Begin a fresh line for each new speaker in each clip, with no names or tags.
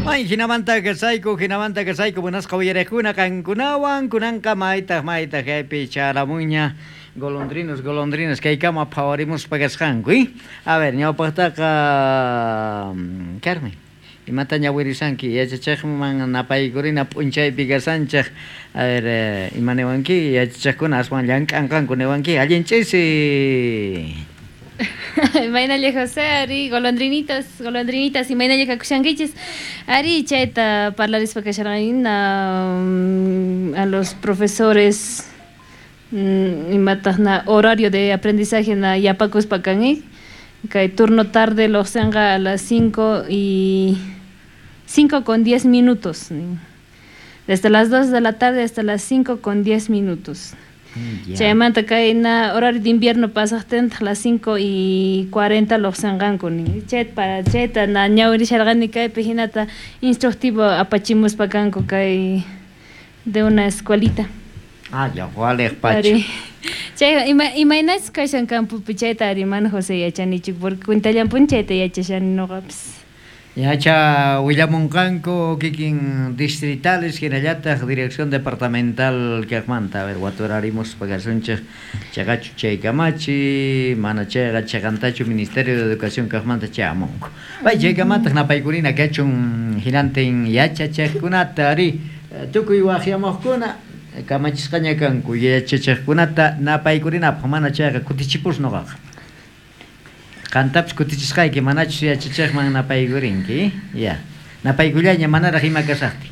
May hinamanta kasayku, hinamanta kasayku, buenasqa uyariqkuna qankunawan, kunanqa maytaq maytaq kaypi charamunña golondrinos, golondrinas kaykama phawarimuspa kasqanku, A ver, ñawpaqtaqa Carmen, imata ñawirisanki yachachiqman napaykurina p'unchaypi kasanchik, a ver, ima niwanki yachachiqkuna aswan llank'anqanku niwanki, allin ch'isi.
Imaynalla José, ari, golondrinitas, golondrinitas, imaynalla kakushankichis, ari, chayta parlarispa kasharqanina a los profesores imataq na horario de aprendizaje na yapakuspa kan, kay turno tarde lojsenqa a las 5 y 5:10, desde las 2 de la tarde hasta las 5:10. Chaymanta kay na horario de invierno pasaqtintaq las 5:40 lojsenqanku nin. Chayta para chayta na ñawirisharqani kaypi hinata instructivo apachimuspa kanku kay de una escuelita.
Ah, ya, waliq pacha.
Chay imaynachus kashan campopi chayta ari mana José yachanichu, porque cuentallanpuni chayta yachashani noqapis.
Yacha willamunqanku kikin distritales hinallataq dirección departamental kaqmanta, a ver, waturarimuspa kasunchik chaqachu chay kamachi, mana chayqa chaqantachu Ministerio de Educación kaqmanta chayamunku. Pay chaykamataq napaykurina kachun hinantin yachachiqkunata ari tukuy waqyamuqkuna kamachisqaña kanku yachachiqkunata napaykurinapaq, mana chayqa kutichipus noqaqa. Qantapis kutichisqayki manachus yachachiqman napaykurinki, ya. Napaykullaña manaraq ima kasaqtin.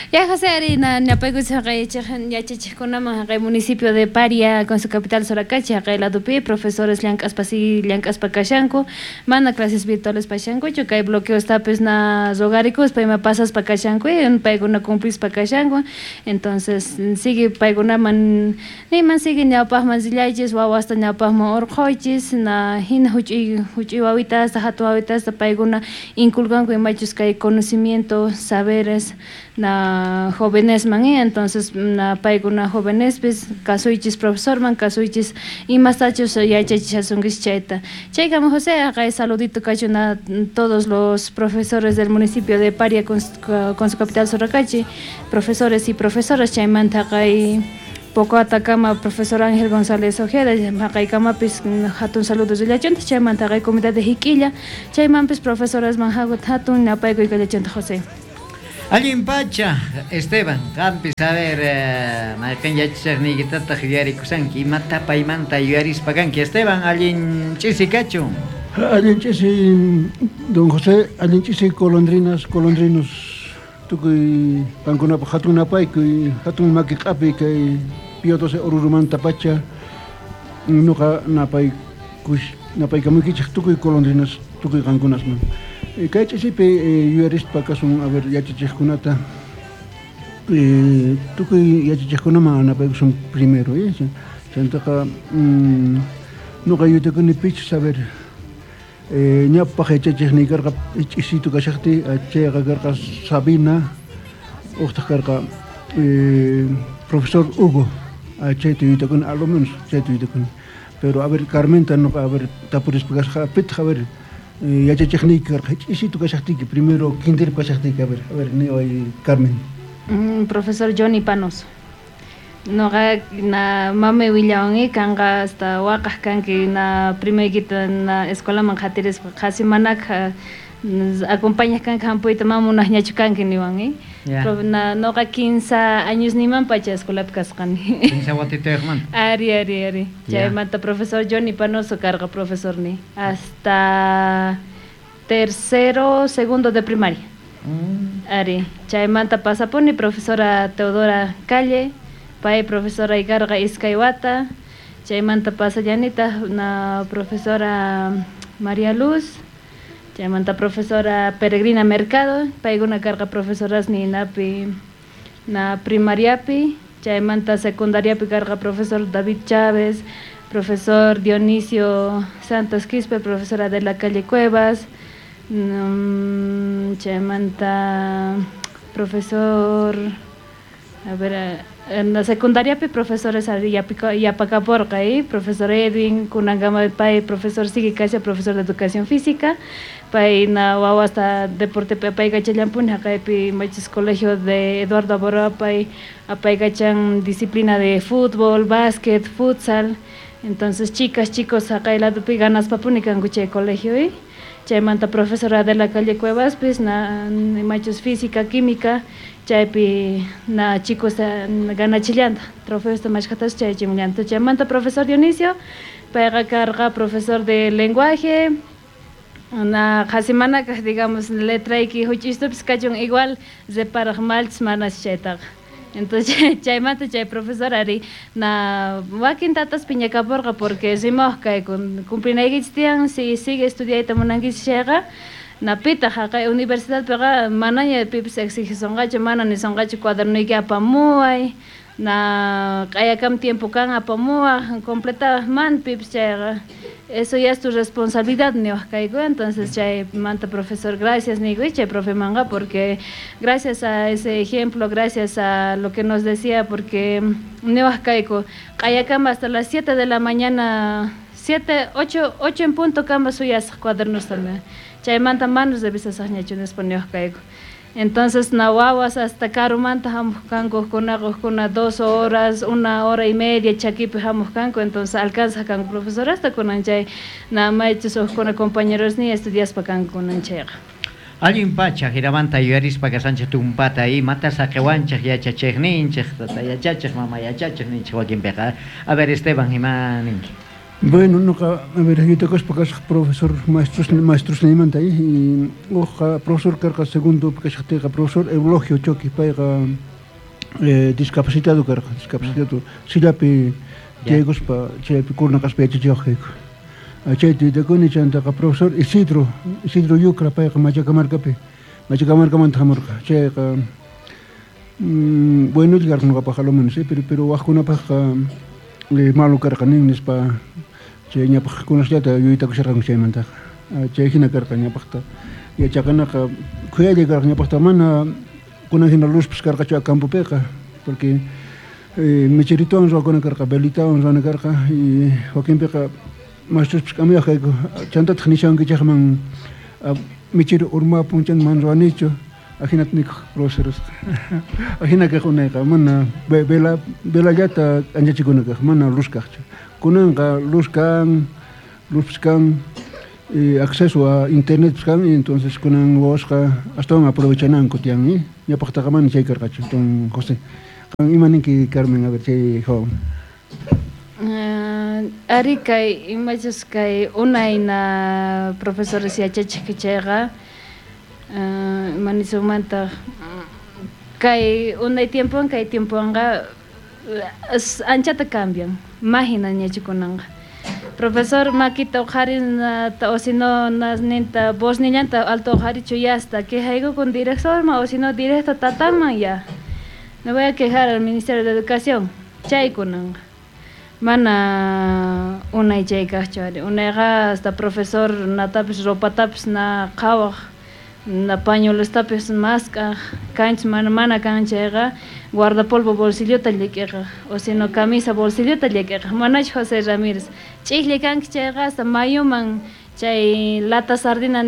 Ya José ari na napaykusqa yachachiqkunaman haqay municipio de Paria con su capital Soracachi haqay ladopi profesores llank'aspa si llank'aspa kashanku, mana clases virtuales pashankuchu, kay bloqueostapis na rogarikuspa ima pasaspa kashanku, paykuna cumplispa kashanku, entonces sigue paykunaman niman sigue ñawpaqman rillaychis, wawasta ñawpaqman urqhuychis, na hina huch'uy wawitasta, hatun wawitasta paykuna inculcanku imachus kay conocimiento, saberes na jovenesman, entonces na paykuna jovenespis kasuychis profesorman, kasuychis imastachus yachachishasunkichis chayta. Chaykama José, haqay saludito kachun a todos los profesores del municipio de Paria con su capital Soracachi, profesores y profesoras, chaymanta haqay poco atakama profesor Ángel González Ojeda, haqaykamapis hatun saludos rillachunta, chaymanta haqay comunidad de Jiquilla, chaymanpis profesores manhagut hatun napaykuy kallachunta José.
Allin pacha, Esteban, qampis, a ver, mayqin yachachiqniykitataq yuyarikusanki, imata paymanta yuyarispa kanki, Esteban, allin ch'isi kachun.
Allin ch'isi, don José, allin ch'isi golondrinas, golondrinos, tukuy qankunapaq hatun napaykuy, hatun maki q'api kay Pío 12 Orurumanta pacha, nuqa napaykamuykichik tukuy golondrinas, tukuy qankunasman. Kay ch'isipi yuyarispa kasun, a ver, yachachiqkunata, tukuy yachachiqkunaman napaykusun primero, chantaqa nuqa yuyakuni pichus, a ver, ñawpaq yachachiqniy karqa ch'isitu kashaqtiy, chayqa karqa Sabina, uqtaq karqa profesor Hugo, chayta yuyakuni, a lo menos chayta yuyakuni. Pero a ver, Carmenta nuqa, a ver, tapurispa kasqa, pitaq, a ver, yachachiqniyki karqa ch'isitu kashaqtiyki, primero kinderpi kashaqtiyki, a ver, niway Carmen.
Profesor Johnny Panos. Noqa na mamay willawanki kanqa hasta waqaq kanki na primaykita na escuelaman qhatirispa qhasi manakha acompañaq kanki hampuyta mana munaqñachu kanki niwan, Na noqa 15 años niman pacha escuelapi kasqani.
15 watitayuqmanta.
Ari, ari, ari. Chaymanta profesor Johnny Panoso karqa profesorni hasta tercero, segundo de primaria. Ari, chaymanta pasapuni profesora Teodora Calle, pay profesora ikarqa iskay wata, chaymanta pasallanitaq na profesora María Luz, chaymanta profesora Peregrina Mercado, paykuna karqa profesoras ninapi na primariapi, chaymanta secundariapi karqa profesor David Chávez, profesor Dionisio Santos Quispe, profesora de la calle Cuevas, chaymanta profesor, a ver, En la secundariapi profesores yapakaporqa, profesor Edwin, kunankama pay profesor sigue kasha, profesor de educación física, pay na wawasta deportepi apaykachallanpuni, haqaypi machis colegio de Eduardo Abaroa pay apaykachan disciplina de fútbol, básquet, futsal. Entonces chicas, chicos haqay ladopi ganaspapuni kanku chay colegio, chaymanta profesora de la calle Cuevaspis na machus física, química, chaypi na chicos ganachillanta, trofeosta mashkhatas chayachimllanta. Chaymanta profesor Dionisio, payqa karqa profesor de lenguaje, na qhasimanakaq, digamos, letrayki huch'istupis kachun igual reparaq malchis manas chaytaqa. Entonces chaymanta chay profesor ari na wakin tatas piñakaporqa porque rimawaq kayku cumplinaykichis tiyan, si sigue estudiayta munankichis chayqa na pitaq haqay universidadpiqa manaña pipis exigisonqachu, mana nisonqachu cuadernuyki apamuway, na q'ayakam tiempo kan apamuwaq, completawaq man pipis chayqa eso ya es tu responsabilidad niwaq kayku. Entonces chaymanta profesor gracias niyku chay profemanqa, porque gracias a ese ejemplo, gracias a lo que nos decía, porque niwaq kayku q'ayakama hasta las 7 de la mañana, 7, 8 en punto kama suyasaq cuadernos también, chaymanta manos revisasaqñachu nispa niwaq kayku. Entonces na wawas hasta karumanta hamuq kanku, uqkuna 2 horas, 1 hora y media chakipi hamuq kanku, entonces alcanzaq kanku profesor hasta kunan chay na maychus uqkuna compañeros ni estudiaspa kanku kunan chayqa.
Allin pacha jinamanta yuyarispa kasanchik tumpata imata saqiwanchik yachachiqninchik, tata yachachiq, mama yachachiq ninchik wakinpiqa. A ver, Esteban, ima ninki?
Bueno, noqa, a ver, yuyaykuspa kasaq profesor maestrosniymanta, y uqqa profesor karqa segundo kashaqtiyqa profesor Eulogio Choqui, payqa discapacitado karqa, discapacitado, sillapi tiyaykuspa chaypi kurna kaspa yachachiwaq kayku. Chayta yuyakuni, chantaqa profesor Isidro, Isidro Yucra, payqa Machacamarcapi, Machacamarcamanta hamurqa, chayqa bueno karqa noqapaq a lo menos, pero wajkunapaqqa malo karqa nin nispa chay ñapaq kunasllata yuyaytakusharqanku chaymantaqa. Chay hina karqa ñapaqta yachaqanaqa khuyalla karqa ñapaqta, mana kunan hina luzpis karqachu campopiqa, porque mecherituwan ruwakuna karqa, velitawan ruwana karqa, y wakinpiqa maestruspis k'amiyaq kayku, chantataq nishawankichaqman mechero urmapun chan man ruwanichu, ajinata nikuq profesoresqa. Ajina kaq unayqa, mana velallata k'anchachikuna kaq, mana luz kaqchu. Kunanqa luz kan, luzpis kan, acceso a internet kan, entonces kunan wawasqa astawan aprovechananku tiyan, ñapaqtaqa mana chay karqachu. Don José, qan ima ninki Carmen, a ver chay joven.
Ari kay imachus kay unayna profesores yachachiq chayqa, manisumanta kay unay tiempowan kay tiempowanqa anchata cambian, mahina ñachikunanqa. Profesor makita uqharin o si no ninta voznillanta alto uqharichu yasta, quejayku con directorman o si no directo tatanman ya. Me voy a quejar al Ministerio de Educación, chaykunanqa. Mana unay chay kaqchu ari, unayqa hasta profesor natapis ropatapis na qhawaq, na pañuelostapis mask'aq, kanchis mana kan chayqa guardapolvo bolsillota llik'iqaq, o si no camisa bolsillota llik'iqaq, manachu José Ramírez, ch'iklla kanki chayqa hasta mayuman chay lata sardina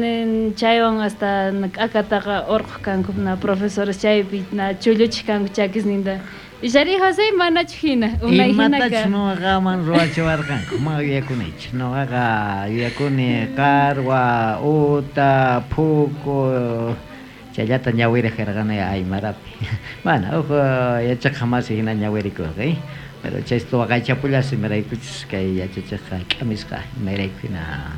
chaywan hasta k'akataqa urquq kanku na profesores chaypi na chulluchiq kanku chakisninta. Ishari José manachu hina, unay hina ka.
Imatachus nuqaman ruwachiwarqanku, mana yuyakunichu. Nuqaqa yuyakuni qarwa, uta, phuku, chayllata ñawiraq karqani aymarapi. Mana, uj yachaqqa masi hina ñawirikurqa, pero chaysta waqaychapullas imaraykuchus kay yachachiqqa k'amisqa imarayku hina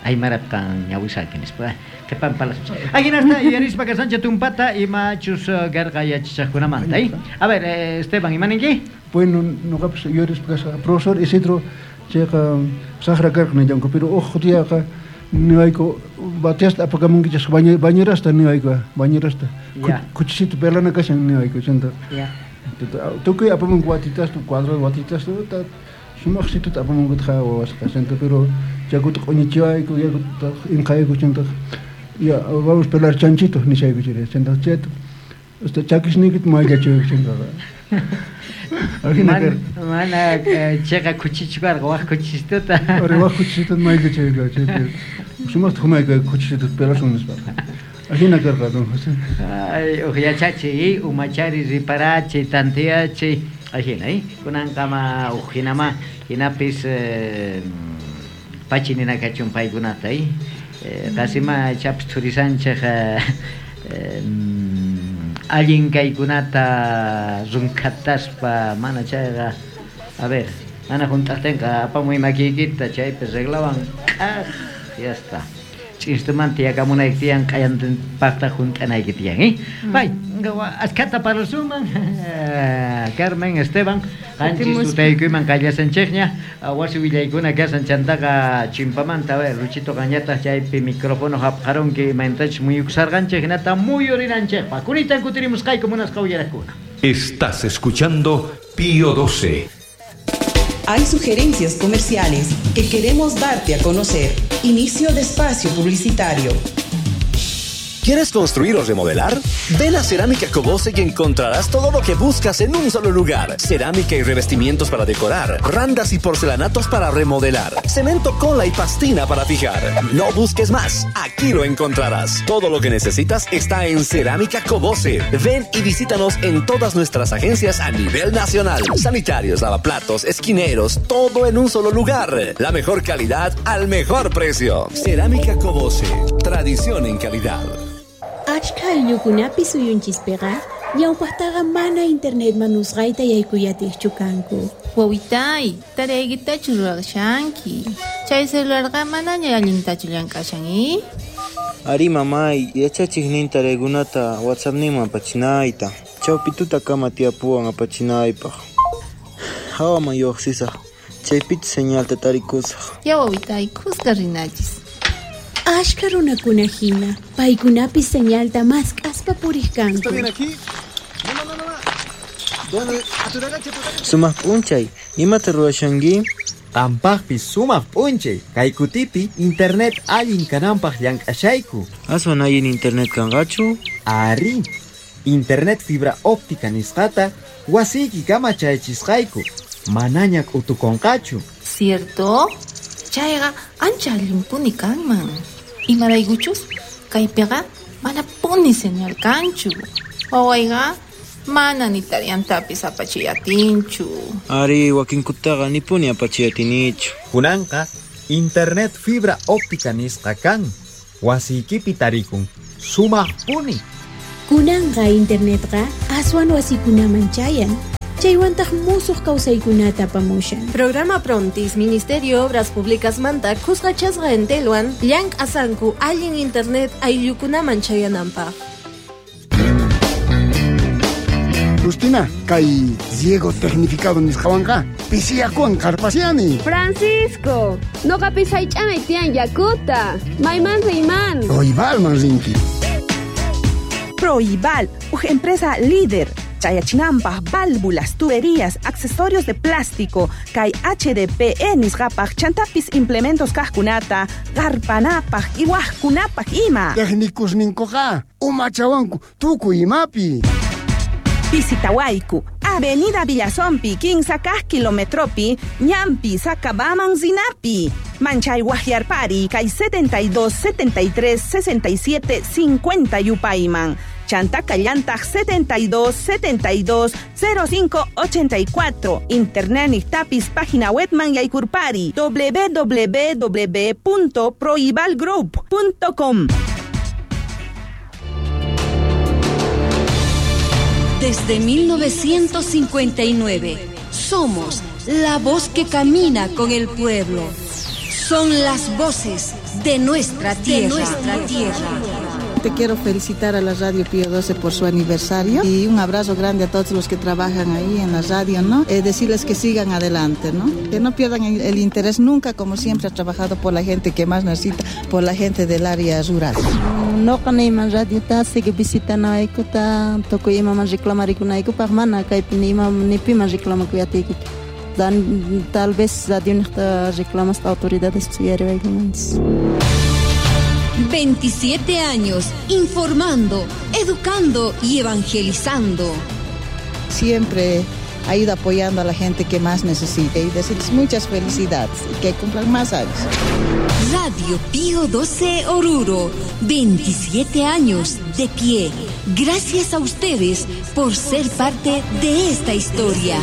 aymarapi qan ñawisaki nispa. Qhipan palacios. Ajinasta yuyarispa kasancha tumpata imachus karqa yachachiqkunamanta, A ver, Esteban, ima ninki?
Bueno, noqapis yuyarispa kasqa profesor Isidro chayqa saqra karqa nillanku, pero uj diaqa niwayku bateasta apakamunkichis bañerasta niwayku, bañerasta. Kuchisito pelana kashan niwayku, chanta. Tukuy apamunku watitasta, cuadro watitasta, sumaqsituta apamunkutaq wawasqa, chanta, pero yakuta q'uñichiwayku, yakuta inqayku, chanta, ya, vamos pelar chanchito nishayku chiri, chanta, chayta, hasta chakisniykita mayllachiwayku, chantaqa.
Mana cheqa kuchichu karqa, waj kuchichituta.
Ari waj kuchichituta mayllachayka chaypi. Sumaqta humayka kuchichituta pelasun nispa. Ajina karqa don José.
Ay, uj yachachiy, umachari riparachiy, tantiyachiy, ajina, kunanqama uj hinama, hinapis pachi ninakachun paykunata, qasima chapis thurisanchej allin kaykunata runkhataspa mana chayqa, a ver, mana hunt'aqtinqa apamuy makiykita chaypi reglawan k'aj, ya está. Ch'instumanta yakamunayki tiyan, q'ayantinpaqta hunt'anayki tiyan, Bay, ashkhata parlasunman, Carmen, Esteban, qanchis tutaykuyman qallasanchikña, wasi willaykuna kasan chantaqa chimpamanta, a ver, Luchito qanñataq chaypi micrófono hapqarunki imaynatachus muyukusarqanchik hinata muyurinanchikpaq. Kunitan kutirimusqayku munasqa uyaraqkuna.
Estás escuchando Pío 12.
Hay sugerencias comerciales que queremos darte a conocer. Inicio de espacio publicitario.
¿Quieres construir o remodelar? Ven a Cerámica Cobose y encontrarás todo lo que buscas en un solo lugar. Cerámica y revestimientos para decorar, randas y porcelanatos para remodelar, cemento, cola y pastina para fijar. No busques más, aquí lo encontrarás. Todo lo que necesitas está en Cerámica Cobose. Ven y visítanos en todas nuestras agencias a nivel nacional. Sanitarios, lavaplatos, esquineros, todo en un solo lugar. La mejor calidad al mejor precio. Cerámica Cobose, tradición en calidad.
Achka ayllukunapi suyunchispiqa ñawpaqtaqa mana internet manusqayta yaykuyatiqchu kanku.
Wawitay, taraykitachu ruwashanki. Chay celularqa manaña allintachu llank'ashan,
Ari mamay, yachachiqnin taraykunata WhatsAppninman apachinayta. Chawpituta kama tiyapuwan apachinaypaq. Hawaman lluqsisaq, chaypichu señalta tarikusaq.
Ya wawitay, kuska rinachis.
Ashka runakuna hina, paykunapis señalta mask'aspa puriq kanku.
¿Está bien aquí? No, no, no, no. ¿Dónde?
Sumaq p'unchay, imata ruwashanki?
Qampaqpis sumaq p'unchay, kay kutipi internet allin kananpaq llank'ashayku.
Aswan allin internet kanqachu?
Ari, internet fibra óptica nisqata wasiyki kama chayachisqayku, manaña k'utukunqachu.
Cierto? Chayqa ancha allinpuni kanman. Imaraykuchus kaypiqa manapuni señal kanchu. Wawayqa mana ni tariyantapis apachiyatinchu.
Ari, wakinkutaqa nipuni apachiyatinichu.
Kunanqa internet fibra óptica nisqa kan. Wasiykipi tarikun. Sumaqpuni.
Kunanqa internetqa aswan wasikunaman chayan. Chaywantaq musuq kawsaykunata apamushan.
Programa Prontis, Ministerio Obras Públicas manta kusqachasqa entelwan llank'asanku allin internet ayllukunaman chayananpaq.
Justina, kay riego tecnificado nisqawanqa pisiyakuwan qarpasiani.
Francisco, noqapis haych'anay tiyan yakuta. Mayman riyman.
Proibalman rinki.
Proibal, uj empresa líder. Chayachinanpaq, válvulas, tuberías, accesorios de plástico, kay HDPE nisqapaq, chantapis implementos kaqkunata, qarpanapaq, iwaqkunapaq ima.
Técnicos ninkuqa, umachawanku, tukuy imapi.
Visitawayku, Avenida Villazompi, 15 kaq kilometropi, Ñampi, Sacabaman, Zinapi. Manchay Guajiarpari, kay 72 73 67 50 yupayman. Chanta Callantag 72 72 05 84. Internet Nictapis página webman yaykurpari www.proibalgroup.com.
Desde 1959 somos la voz que camina con el pueblo. Son las voces de nuestra tierra. De nuestra tierra.
Te quiero felicitar a la Radio Pío 12 por su aniversario y un abrazo grande a todos los que trabajan ahí en la radio, ¿no? Decirles que sigan adelante, ¿no? Que no pierdan el interés nunca, como siempre ha trabajado por la gente que más necesita, por la gente del área rural.
No kanayman radio ta sigue visitanaykota, tukuy imaman reclamarikunayku mana kaypi ni ima ni piman reclamakuyatiyku. Tal vez radio niqta reclamas autoridades uyariwaykumanchis.
27 años informando, educando y evangelizando.
Siempre ha ido apoyando a la gente que más necesita y decirles muchas felicidades y que cumplan más años.
Radio Pío 12 Oruro, 27 años de pie. Gracias a ustedes por ser parte de esta historia.